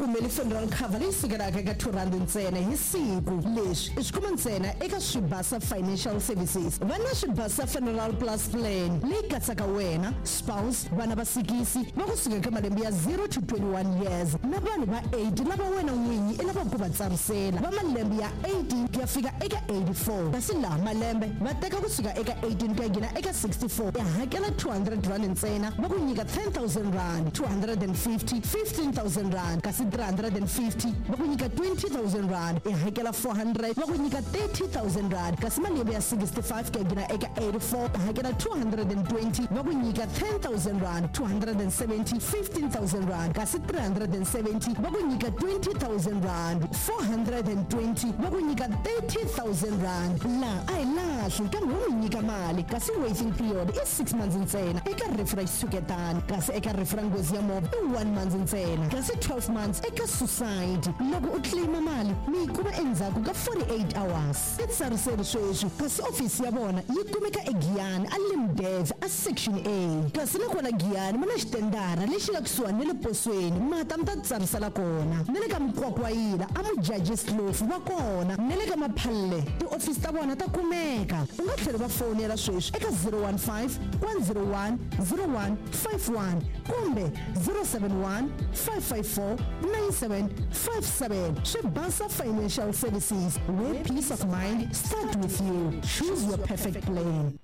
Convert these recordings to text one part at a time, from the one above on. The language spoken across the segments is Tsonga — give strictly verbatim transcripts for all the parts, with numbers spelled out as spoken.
Tikumeli funeral cover leyi sukelaka eka two rand ntsena hi siku. Leswi i swi kuma ntsena eka Swibasa Financial Services. Va na Swibasa Funeral Plus Plan leyi katsaka wena, spouse, vana va sikisi va kusuka eka malembe ya zero to twenty-one years na vanhu va eight lava wena n'winyi i lavaka ku va tsarisela va malembe ya eighteen ku ya fika eka eighty-four. Kasi laha malembe va teka kusuka eka eighteen ku ya nghena eka sixty-four, ya hakela two hundred rand ntsena, va ku nyika ten thousand rand, two hundred and fifty, fifteen thousand rand, kasi three hundred and fifty va ku nyika twenty thousand rand, ya hakela four hundred va ku nyika thirty thousand rand, kasi malembe ya sixty-five ku ya nghena eka eighty-four, ya hakela two hundred and twenty va ku nyika ten thousand rand, two hundred and seventy, fifteen thousand rand, kasi three hundred and seventy va ku nyika twenty thousand rand, four hundred and twenty va ku nyika thirty thousand rand. Laha a hi lahli kambe wo mi nyika mali, kasi waiting period i six months ntsena eka rifu ra xitshuketana, kasi eka rifu ra nghozi ya movha i one month ntsena, kasi twelve months eka suicide. Loko u claima mali mi yi kuma endzhaku ka forty-eight hours. Titsariseri sweswi, kasi ofisi ya vona yi kumeka eGiyani a Limdev a section A, kasi nakona Giyani ma na xitendara lexi nga kusuhani na le posweni, mata mi ta tsarisela kona, na le ka Mkwakwayila a Mujaji Slofu va kona, na le ka Maphalle tiofisi ta vona ta kumeka. U nga tlhela va fonela sweswi eka zero one five, one zero one, zero one five one kumbe zero seven one, five five four, nine seven five seven. Swibasa Financial Services, where peace of mind start with you. Choose your perfect plan.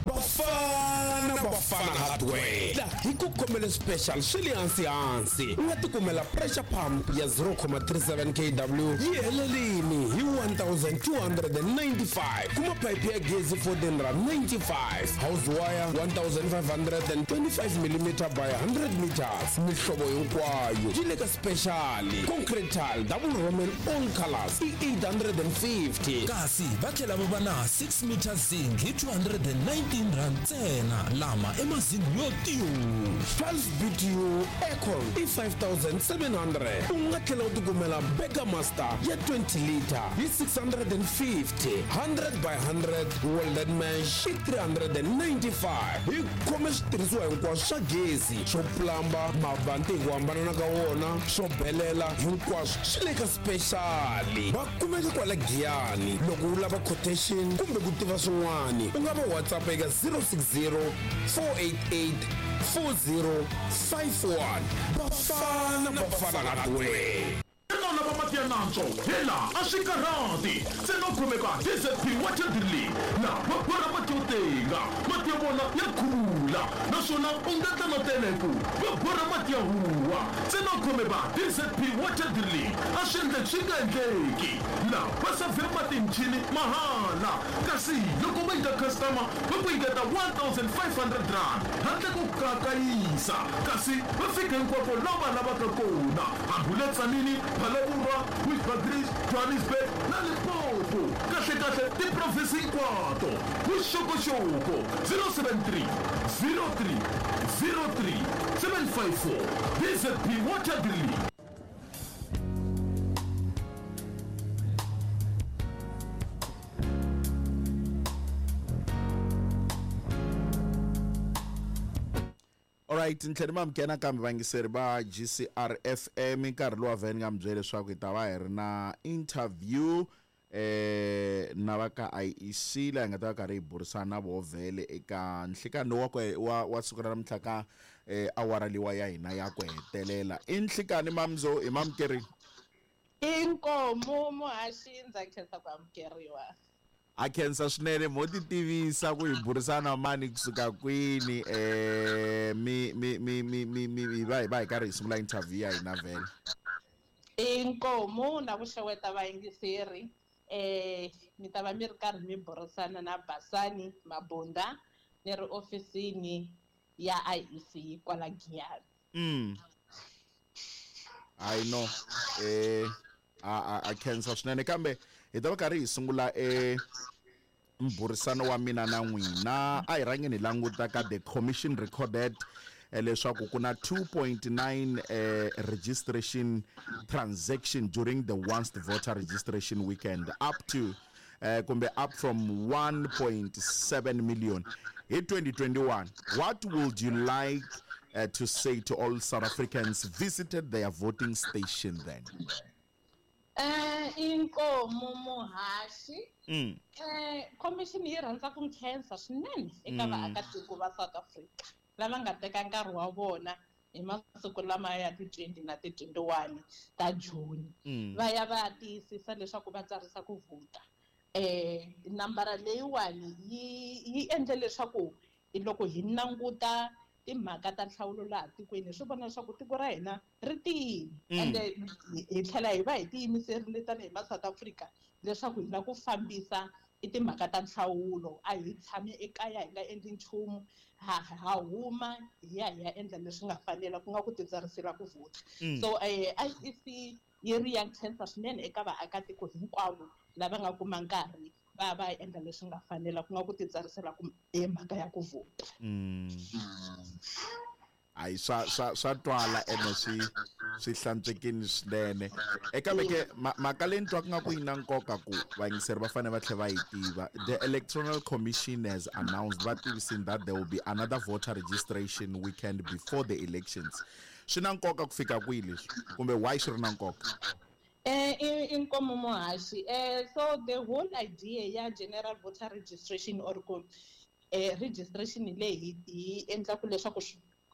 Bafana Bafana Hardware la hi ku khomele special swi le hansi hansi. U nga tikumela pressure pump ya zero comma three seven K W yi helelini hi one thousand two hundred and ninety-five. Kuma pipe ya gezi fourteen rand ninety-five, house wire one thousand five hundred and twenty-five millimeter by hundred meters. Mihlovo hinkwayo yi le ka special. Concrete tile double roman all colors i eight hundred and fifty. Kasi va tlhela va va na six meter zinc hi two hundred and nineteen rand ntsena, lama i mazingi yo tiyo. twelve B T U aircon i five thousand seven hundred. U nga tlhela u tikumela Burger Master ya twenty liter hi six hundred and fifty, hundred by hundred welded mesh i three hundred and ninety-five. Hi khome switirhisiwa hinkwaswo swa gezi, swo plamba, mavanti hi ku hambanana ka wona, swo belela, hinkwaswo swi le ka special. Va kumeka kwala Giyani. Loko u lava quotation kumbe ku tiva swin'wana, u nga va WhatsApp eka zero six zero, four eight eight, four zero five one. Bafana Bafana Hardware. Nona va mati ya nantswo hela a swi karhati ntsena u khomeka D Z P Water Drilling na va borha mati yo tenga, mati ya vona ya khula naswona u nga tla na teleku va borha mati ya huwa. Ntsena u khomeka D Z P Water Drilling a swi endleki swi nga endleki la va savhe mati michini mahala, kasi loko va nyika customer va ku nyiketa one thousand five hundred rand handle ko kakayisa, kasi va fika hinkwako laha va lavaka kona, hambi u le Tzaneen, Phalaborwa, Bushbuckridge, Johannesburg na Limpopo. Kahle kahle tiprovinsi hinkwato. Vuxokoxoko zero seven three, zero three, zero three, seven five four. D Z P Water Drilling. Alright, ntlhela ma amukela nakambe vayingiseri va G C R F M. Nkarhi lowu vhele ni nga mi byela leswaku hi ta va hi ri na interview eh na va ka I E C laha hi nga ta va karhi hi burisana na voho vhele eka nhlikani lowu wa ku wa, wa siku ra namuntlha ka eh awara liwa ya hina ya ku hetelela. I nhlikani Mamzo, hi mamukeri? Inkomu muhaxi, ndza khensa ku amukeriwa. A khensa swinene mo ti tivisa ku hi burisana mani kusuka kwini, eh mi mi mi mi mi mi hi va hi va hi karhi hi sungula interview ya hina vhele. Inkomu na ku xeweta vayingiseri, eh mi ta va mi ri karhi mi burisana na Basani Mabunda ni ri ofisini ya I E C kwala Giyani. Mm. I know. Eh a a khensa swinene kambe hi ta va karhi hi sungula e mbhurisano wa mina na n'wina. A hi rhangeni hi languta ka the commission recorded leswaku ku na two point nine eh, registration transaction during the once voter registration weekend up to eh, kumbe up from one point seven million hi twenty twenty-one. What would you like uh, to say to all South Africans visited their voting station then? Eh inkomo muhaxi. Mm. Eh commission yi rhandza ku nkhensa swinene eka vaakatiko va South Africa lava nga teka nkarhi wa vona hi masiku lama ya ti twenty na ti twenty-one ta June. Mm. Va ya va tiyisisa leswaku va tsarisa ku vhota. Eh nambara leyiwani yi yi endle leswaku loko hi languta timhaka ta nhlawulo laha tikweni swi vona leswaku tiko ra hina ri tiyile. Ende hi tlhela hi va hi tiyimiserile tanihi ma South Africa leswaku hi lava ku fambisa i timhaka ta nhlawulo, a hi tshami ekaya hi nga endli nchumu, ha ha huma hi ya hi ya endla leswi nga fanela ku nga ku titsarisela ku vhota. So eh I E C yi ri ya nkhensa swinene eka vaakatiko hinkwavo lava nga kuma nkarhi va va endla leswi nga fanela ku nga ku titsarisela ku hi mhaka ya ku vhota. Hayi swa swa swa twala ene swi swi hlantswekile swinene. Eka veke mhaka leyi ni twaka nga ku yi na nkoka ku vayingiseri va fanele va tlhela va yi tiva. The Electoral Commission has announced va tivisini that there will be another voter registration weekend before the elections. Swi na nkoka ku fika kwihi leswi kumbe why swi ri na nkoka? Eh inkomo muhaxi. Eh so the whole idea ya general voter registration or ku eh registration leyi hi endla ku leswaku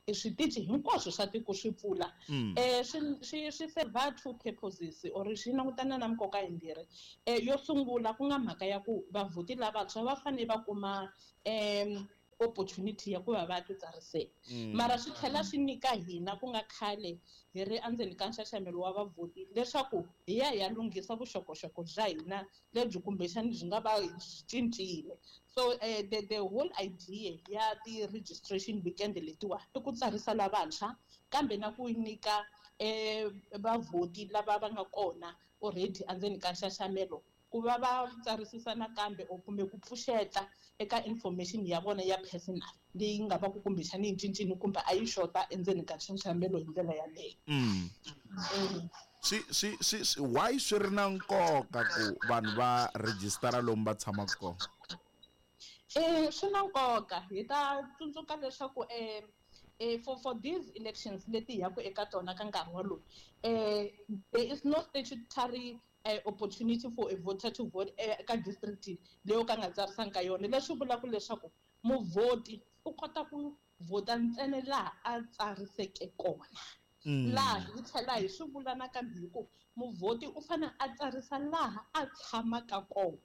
switichi hinkwaswo swa tiko swi pfula eh swi swi swi serve two purposes or swi langutana na nkoka yimbirhi. Eh yo sungula ku nga mhaka ya ku vavhoti lavantshwa va fanele va kuma em opportunity ya ku va va titsarisela. Mara swi tlhela swi nyika hina ku nga khale hi ri endzeni ka nxaxamelo wa vavhoti leswaku hi ya hi ya lunghisa vuxokoxoko bya hina lebyi kumbexani byi nga va cincile. So eh, the, the whole idea ya ti-registration weekend letiwa i ku tsarisa lavantshwa kambe na ku nyika eh, vavhoti lava va nga kona already endzeni ka nxaxamelo ku va va tsarisisa nakambe or kumbe ku pfuxeta eka information ya vona ya personal leyi nga va ku kumbexani yi cincile kumbe a yi xota endzeni ka nxaxamelo hi ndlela yaleyo. Mm. Swi swi swi why swi ri na nkoka ku vanhu va registera lomu va tshamaka kona? Eh swi na nkoka hi ta tsundzuka leswaku eh eh for for these elections leti hi yaku eka tona ka nkarhi wolowo eh there is no statutory Uh, opportunity for a voter to vote eka district leyi ka nga tsarisanga ka yona. Leswi vulaka leswaku muvhoti u kota ku vhota ntsena laha a tsariseke kona. Laha hi tlhela hi swi vula nakambe hi ku muvhoti u fanele a tsarisa laha a tshamaka kona.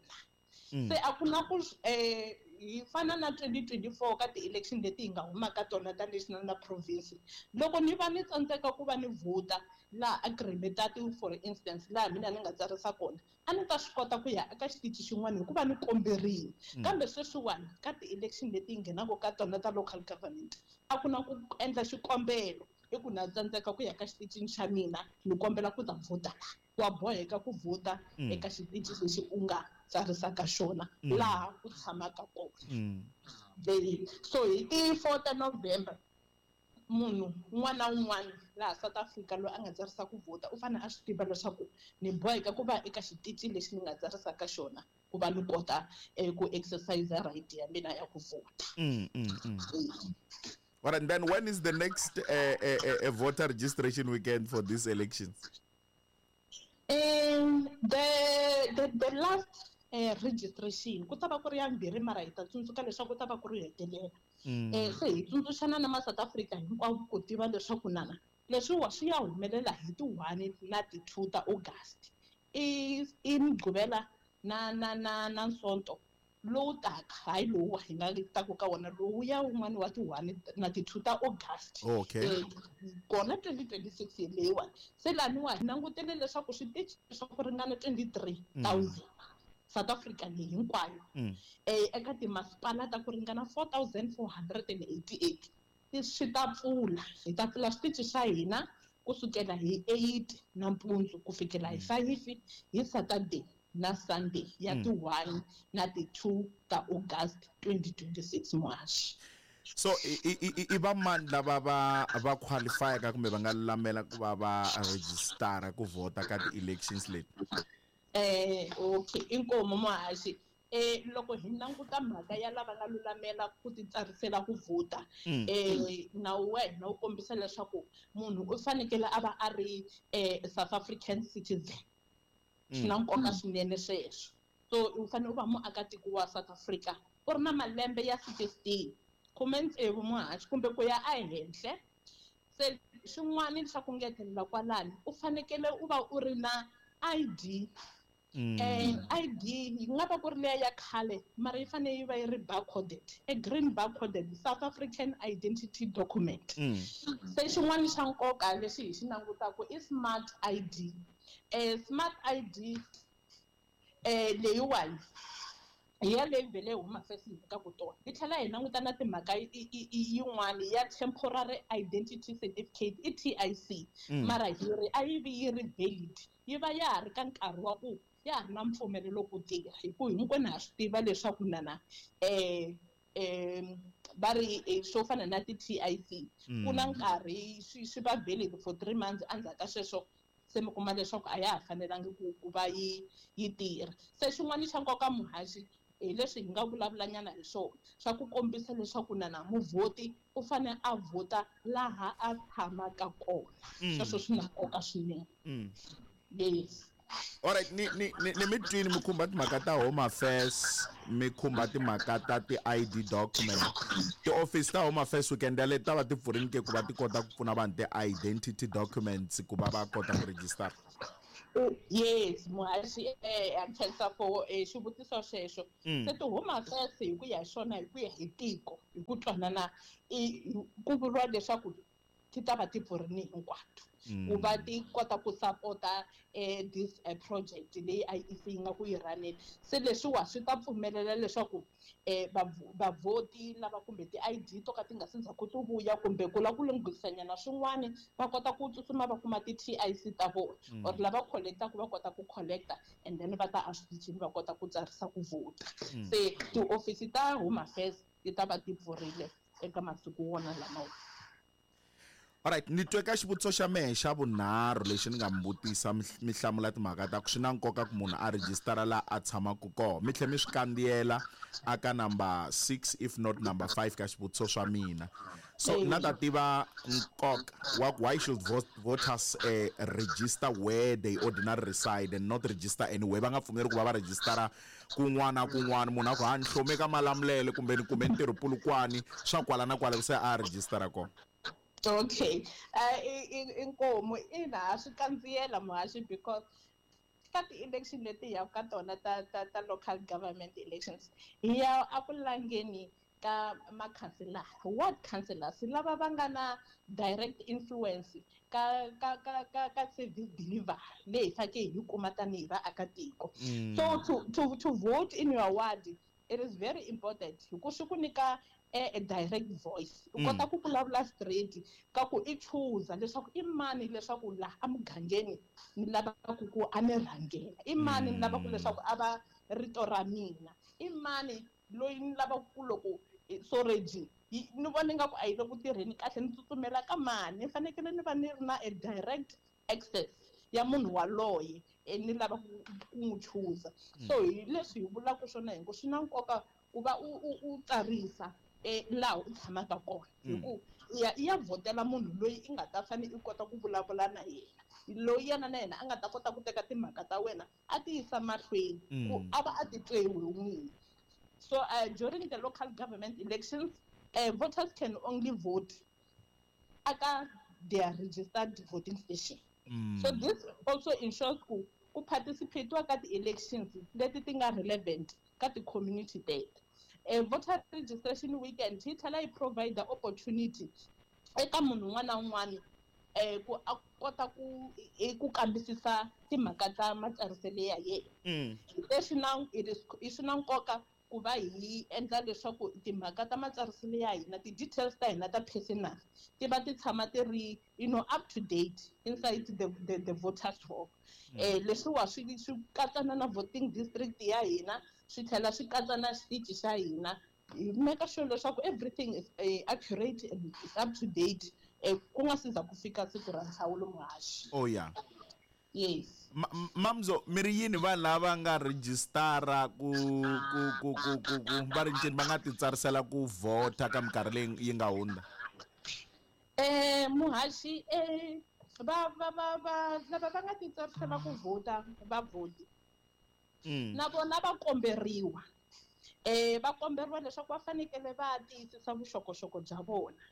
Se a ku na ku eh hi fana na twenty twenty-four ka ti-election leti hi nga humaka tona ta national na province. Loko ni va ni tsandzeka ku va ni vhota laha agreement for instance laha mina ni nga tsarisa kona a ni ta swi kota ku ya eka xitichi xin'wana hikuva ni komberile. Kambe sweswiwani ka ti-election leti hi nghenaka ka tona ta local government a ku na ku endla xikombelo i ku na tsandzeka ku ya ka xitichini xa mina ni kombela ku ta vhota laha. Wa boheka ku vhota eka xitichi lexi u nga tsarisaka xona laha u tshamaka kona. So hi ti four ta November munhu un'wana na un'wana laha South Africa loyi a nga tsarisa ku vhota u fanele a swi tiva leswaku ni boheka ku va eka xitichi lexi ni nga tsarisaka xona ku va ni kota ku exercise right ya mina ya ku vhota. Mm, mm, mm. All right, and then when is the next uh, uh, uh, voter registration weekend for these elections? Um, the, the, the last uh, registration, ku ta va ku ri ya mbirhi mara hi ta tsundzuka leswaku ku ta va ku ri hetelela. Eh, se hi tsundzuxana na ma South Africa hinkwavo ku tiva leswaku nana leswiwa swi ya humelela hi ti one na ti two ta August. I i Mugqivela na na na na Sonto lowu taka, hayi lowu hi nga taku ka wona lowu ya wun'wani wa ti one na ti two ta August. Okay. Eh, kona twenty twenty-six leyiwani. Se laniwa hi langutele leswaku switichi swa ku ringana twenty-three thousand South Africa leyi hinkwayo. Eh eka timasipala ta ku ringana four thousand four hundred and eighty-eight swi ta pfula. Hi ta pfula switichi swa hina kusukela hi eight nampundzu ku fikela hi five hi Saturday na Sunday ya ti one na ti two ta August twenty twenty-six March. So i va mani lava va va qualify ka kumbe va nga lulamela ku va va registera ku vhota ka ti-elections leti? Eh okay, inkomo muhaxi. eh loko hi languta mhaka ya lava nga lulamela ku titsarisela ku vhota eh nawu wa hina wu kombisa leswaku munhu u fanekele a va a ri eh South African citizen. Swi na nkoka swinene sweswo. So u fanele u va muakatiko wa South Africa u ri na malembe ya sixteen khume tsevu muhaxi kumbe ku ya ehenhla. Se xin'wana xa ku ngetelela kwalani u fanekele u va u ri na I D. Eh I D yi nga va ku ri leya ya khale mara yi fanele yi va yi ri barcoded, a green barcoded South African identity document. Se xin'wana xa nkoka lexi hi xi langutaka i smart I D. Eh smart I D eh leyiwani hi ya leyi vhele Home Affairs yi ka ku tona. Hi tlhela hi languta na timhaka yin'wana ya temporary identity certificate i T I C. Mara hi ri a yi vi yi ri valid, yi va ya ha ri ka nkarhi wa ku ya ha ri na mpfumelelo ku tirha hi ku hinkwenu ha swi tiva leswaku nana eh eh va ri swo fana na ti T I C ku na nkarhi swi swi va valid for three months endzhaku ka sweswo se mi kuma leswaku a ya ha fanelangi ku ku va yi yi tirha. Se xin'wana xa nkoka muhaxi hi leswi hi nga vulavulanyana hi swona swa ku kombisa leswaku nana muvhoti u fanele a vhota laha a tshamaka kona. Sweswo swi na nkoka swinene. Yes. Alright, ni ni ni ni mi twini mi khumba timhaka ta Home Affairs, mi khumba timhaka ta ti-I D document. Ti-office ta Home Affairs weekend yaleyo ta va ti pfurini ke ku va ti kota ku pfuna vanhu ti-identity documents ku va va kota ku register? Yes, muhaxi eh a khensa for xivutiso xexo. Se ti-Home Affairs hi ku ya hi swona hi ku ya hi tiko hi ku twanana ku vuriwa leswaku ti ta va ti pfurini hinkwato ku va ti kota ku sapota eh this uh, project leyi I E C yi nga ku yi rhaneni. Se leswiwa swi ta pfumelela leswaku eh vavhoti lava kumbe ti-I D to ka ti nga se ndzhaku ti vuya kumbe ku lava ku lunghisanyana swin'wana va kota ku tsutsuma va kuma ti-T I C ta vona or lava collectaka va kota ku collecta and then va ta eswitichini va kota ku tsarisa ku vhota. Se tiofisi ta Home Affairs ti ta va ti pfurile eka masiku wona lamawa. Alright, ni twe ka xivutiso xa mehe xa vunharhu lexi ni nga mi vutisa mi hlamula timhaka ta ku swi na nkoka ku munhu a rejistara laha a tshamaka kona. Mi tlhela mi swi kandziyela aka number six if not number five ka xivutiso swa mina. So na ta tiva nkoka wa why should voters eh, register where they ordinarily reside and not register anywhere. Va nga pfumeri ku va va rejistara kun'wana kun'wana munhu a ku ha ni hlome ka Malamulele kumbe ni kumbe ntirho Polokwane swa kwala na kwala se a rejistara kona. Okay, uh, inkomo ina swi kandziyela muhaxi because ka ti-election leti hi ka tona ta ta ta local government elections hi ya a ku langeni ka makhanselara, ward councillors lava va nga na direct influence ka ka ka ka ka service delivery leyi hi fanekele hi kuma tanihi vaakatiko. So to to to vote in your ward it is very important hi ku swi ku nyika a direct voice. U kota ku vulavula straight ka ku i chuza leswaku i mani leswaku laha emugangeni ni lavaka ku a ni rhangela, i mani ni lavaka leswaku a va rito ra mina, i mani loyi ni lavaka ku loko soreji ni vona ingaku a yi le ku tirheni kahle ni tsutsumela ka mani. Ni fanekele ni va ni ri na a direct access ya munhu waloye ni lava ku n'wi chuza. So hi leswi hi vulaka swona hi ku swi na nkoka ku va u u u tsarisa eh laha u tshamaka kona hi ku ya ya vhotela munhu loyi i nga ta fanele i kota ku vulavula na yena, loyi yena na yena a nga ta kota ku teka timhaka ta wena a ti yisa mahlweni ku a va a titwe hi n'wini. So uh, during the local government elections uh, voters can only vote aka their registered voting station. Mm. So this also ensures ku ku participate ka ti-elections leti ti nga relevant ka ti-community teto. A voter registration weekend yi tlhela yi provide the opportunity eka munhu un'wana na un'wana eh ku a kota ku ku kambisisa timhaka ta matsariselo ya yena. Leswi na it is i swi na nkoka ku va hi endla leswaku timhaka ta matsariselo ya hina, ti-details ta hina ta personal ti va ti tshama ti ri you know up to date inside the the, the voters roll. Eh leswiwa swi swi katsana na voting district ya hina, swi tlhela swi katsa na xitichi xa hina. Hi make sure leswaku everything is uh, accurate and is up to date eh ku nga si za ku fika siku ra nhlawulo muhaxi. Oh yeah. Yes. Mamzo, mi ri yini vanhu lava nga rejistara ku ku ku ku ku ku va ri ncini va nga titsarisela ku vhota ka minkarhi leyi yi nga hundza? Eh muhaxi eh va va va va lava va nga titsarisela ku vhota va vhoti. Na vona va komberiwa. Eh va komberiwa leswaku va fanekele va tiyisisa vuxokoxoko bya vona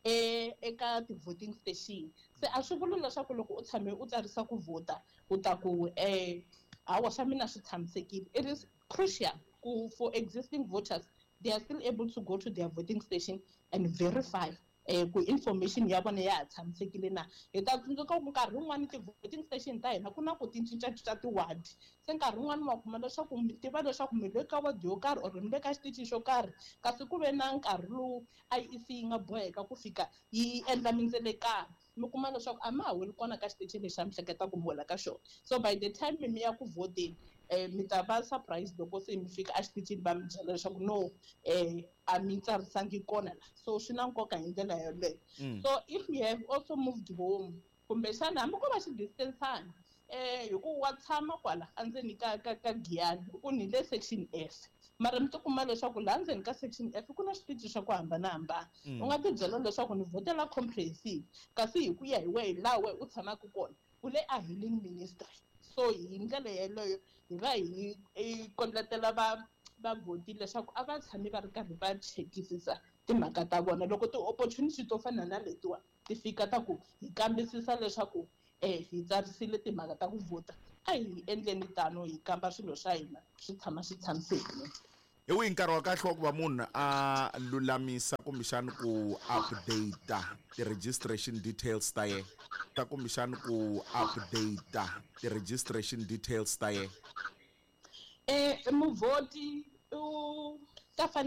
eh eka ti-voting station. Se a swi vuli leswaku loko u tshame u tsarisa ku vhota u ta ku eh hawa swa mina swi tshamisekile. It is crucial ku for existing voters, they are still able to go to their voting station and verify eh ku information ya vona ya ha tshamisekile na. Hi ta tsundzuka ku nkarhi wun'wani ti-voting station ta hina ku na ku ti cincacinca ti-ward. Se nkarhi wun'wani wa kuma leswaku mi tiva leswaku mi le ka ward yo karhi or mi le ka xitichi xo karhi, kasi ku ve na nkarhi lowu I E C yi nga boheka ku fika yi endla mindzelekano, mi kuma leswaku a ma ha weli kona ka xitichi lexi a mi hleketa ku mi wela ka xona. So by the time mi ya ku vhoteni, eh mi ta va surprise loko se mi fika exitichini va mi byela leswaku no eh a mi tsarisangi kona la. So swi na nkoka hi ndlela yeleyo. So if you have also moved home, kumbexana hambi ko va xi-distance-ana eh hi ku wa tshama kwala endzeni ka ka ka Giyani, ku ni le section F, mara mi tikuma leswaku laha ndzeni ka section F ku na switichi swa ku hambanahambana. U nga tibyela leswaku ni vhotela comprehensive, kasi hi ku ya hi wehe laha wehe u tshamaka kona u le a healing ministry. So hi ndlela yeleyo hi va hi kondletela va vavhoti leswaku a va tshami va ri karhi va chekisisa timhaka ta vona. Loko ti-opportunity to fana na letiwa ti fika ta ku hi kambisisa leswaku eh hi tsarisile timhaka ta ku vhota, a hi endleni tano hi kamba swilo swa hina swi tshama swi tshamisekile. Hi wihi nkarhi wa kahle wa ku va munhu a lulamisa kumbexani ku update ti-registration details ta yena? Ta kumbexani ku update ti-registration details ta yena? Eh muvhoti u ta fanekele